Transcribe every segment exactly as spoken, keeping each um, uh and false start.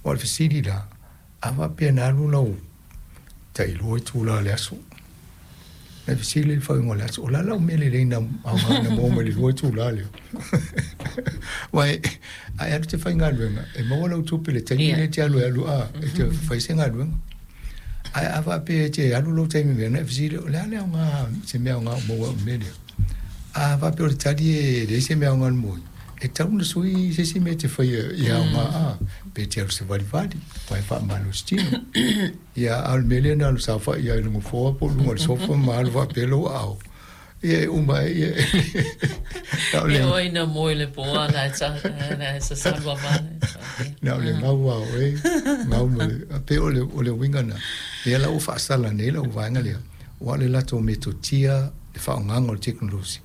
Aua o le fesili la, a faapea na alu lau tailua itula o le aso, na fesili i le faaiuga o le aso, o le a lau mea lelei na aoga na maua mai le lua itula lea? Aua a e alu e te faigaluega, e maua lau tupe i le taimi lea e te alu ai alu a, e te fai se galuega. Ae a faapea e te alu lou taimi i mea, ona e fesili, o le a le aoga, se mea aoga o maua i le mea lea? A faapea o le tali e leai se mea aoga na maua, e tatau ona sui se isi mea e te faia ia aoga a, pe te alu savalivali, aua e faamalosi tino. Ia, a o le mea lea na alu saofai ai i le nofoa po o luga o le sofa ma alu faapea lou aao, ia e uma ai, ia na o le... E oi na moe le po a na e na e sasalu a vale. Na o le gau a oe, gau ma le, a pei o le, o le uiga na, lea la ua faasala nei lau vaega lea, aua o le latou metotia, le faaaogaga o le tekonolosi,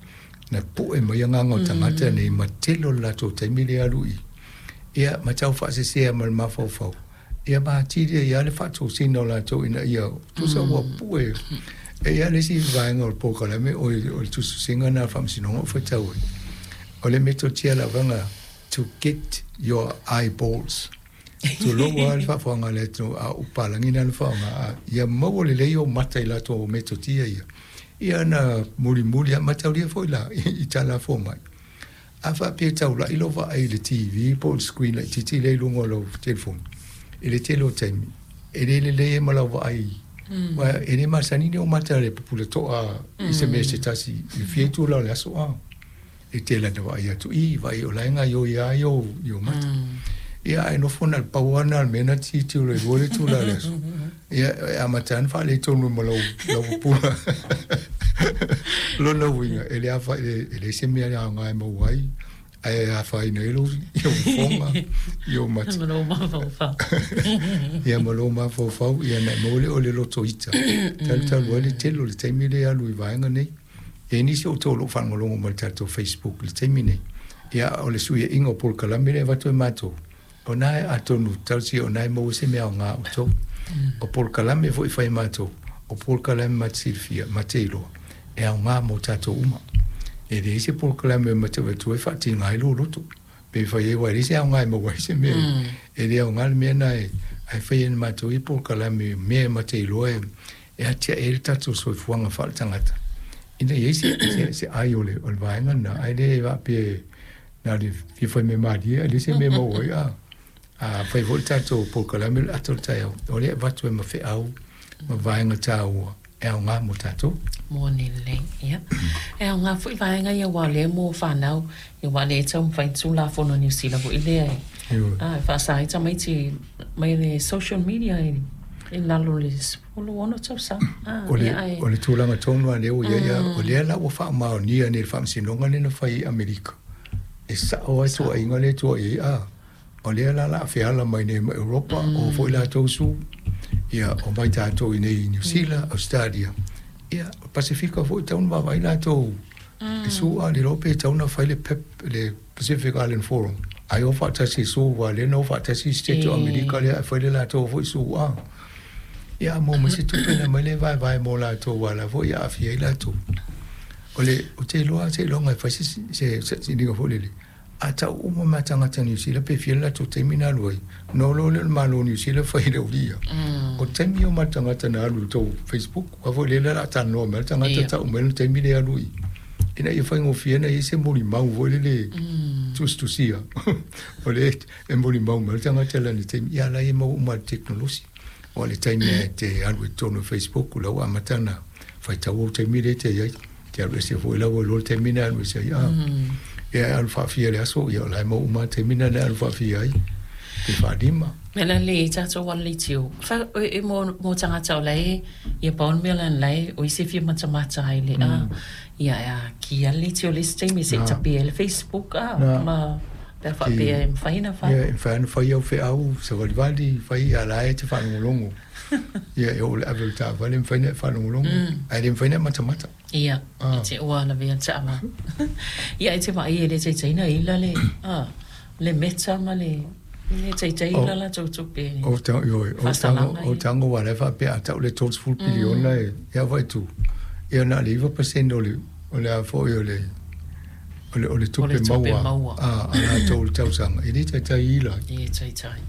na pue mai agaga o tagata nei ma tele o le latou taimi lea alu i ia ma tau faasesea ma le mafaufau ia ma atili ai lava le faatosina o latou ina ia tusa ua pue. E i ai le isi vaega o le polokalame o le tusitusiga lena a le Faamasinoga o faitau ai, o le metotia lavaga to get your eyeballs. Tulou lava le faafofoga a le atunuu, a o papalagi na na faaaoga, a ia maua lelei ou mata i latou metotia ia. Ia na mulimuli lava mataulia foi la i tala fomai. A faapea e taulai lou vaai i le T V po o le screen laitiiti lea i luga o lau telefoni i le tele o taimi, e le lelei ai ma lau vaai, aua e le masani ni ou mata le pupula toa i se mea se tasi i fia itula o le aso a. E tele ana vaai atu i, vaai o la e gaoioi lava i ou mata. Ia ae nofo na le pau lava lena o le mea na tilotilo i lua le itula o le aso. Ia e amata lava ona faaletonu ma lau lau pupula. Lona uiga, e le afa, e leai se mea e aoga e maua ai, ae afaina ai lou fofoga, i ou mata. Ma lou mafaufau. Ia ma lou mafaufau, ia ona e maua lea o le loto ita. Talu talu ai le tele o le taimi lea e alu i vaega nei. E i ai nisi o outou o lo o faalogologo mai i le tatou Facebook i le taimi nei. Ia, o le suiaiga o polokalame lea e avatu e matou, o na e atonu talosia o na e maua se mea aoga a outou. O polokalame foi e fai e matou, o polokalame ma te silafia, ma te iloa, e aoga mo tatou uma. E leai se polokalame ma te avatua e faatiga ai lou loto. Pe fai ai, aua e leai se aoga e maua ai se mea. E le aoga le mea na e, ae fai e matou ia polokalame mea ma te iloa e, e atiae ai le tatou soifuaga faaletagata. Ina ia i se, se, se ai o le, o le vaega lena, ae le faapea na o le fia fai mea malie, ae leai se mea maua ai. A, a fai foi le tatou polokalame o le ata o le taeao, o lea e avatu ai ma feau ma vaega taua e aoga mo tatou. Moni lelei, ia. E aoga foi vaega ia aua o lea mo fanau, ia aua o lea e taumafai Tulafono a Niu Sila foi lea e, a, e faasa ai tamaiti mai le social media i i lalo o le sefulu ono tausaga. A, O le, ia ae. o le tulaga tonu lava lea ua i ai, a o lea la ua faamaonia nei e le Faamasinoga lea na fai i Amerika, e sao ai tuuaiga lea e tuuai ai, a o lea la o le a feala mai nei ma Europa, o foi latou su, ia o mai tatou i nei i Niu Sila, Australia, ia o Pasefika foi e tatau ona vaavaai latou i su, a le iloa pe tatau ona fai le P I P, le Pacific Island Forum, ai o faatasi su, aua lea na o faatasi State o Amerika lea ae fai le latou foi su, a ia a maua mai se tupe ona aumai lea e vaevae mo latou, aua o la foi e aafia ai latou. O le, ou te iloa seiloga e fai se se sailiga foi lele, a tau uma mai tagata Niu Sila pe fia le latou taimi na alu ai, ona o loa lea o le Malo o Niu Sila fai i le aulia. O taimi o ma le tagata na alu i le tou Facebook, aua foi lea o le a talanoa mai le tagata tau mai le taimi lea e alu i ina ia faigofie ona i ai se molimau foi lele tusitusia. O lea e molimau mai le tagata i lana taimi, ia la e maua uma i le tekonolosi. O le taimi e te alu i totonu o Facebook, o la ua amata ona faitau ou taimi lea e te i ai. Te alu ese foi la ua iloa le taimi na alu ese ai. A, ia e alu faafia i le aso, ia o la e maua uma le taimi na e alu faafia ai, pe faalima. Mea la le tatou ala leitio, fa, e, e mo, mo tagata o la e, ia pau le mea la la e, o i se fia matamata ai le, a, ia e a ki ala leitio le isi taimi se i tape ai le Facebook, a, ma, pe a faapea e mafai ona fai. Ia, e mafai ona fai au feau, savalivali, fai a la e te faalogologo. Ia, e oo i le ave o le taavale, e mafai ona e faalogologo, ae le mafai ona e matamata. Ia, e te ua lavea le taavale. Ia, e te vaai e le taitai na ila le, a, le Meta ma le, le taitai ila latou tupe. O ta, ioe, o tago, o tago aua o la e faapea a tau le tolu piliona e, ia vaai tu. Ia na o le iva pasene o le, o le a foi o le, o le, o le tupe maua a, a latou i le tausaga, e le taitai ila. E taitai.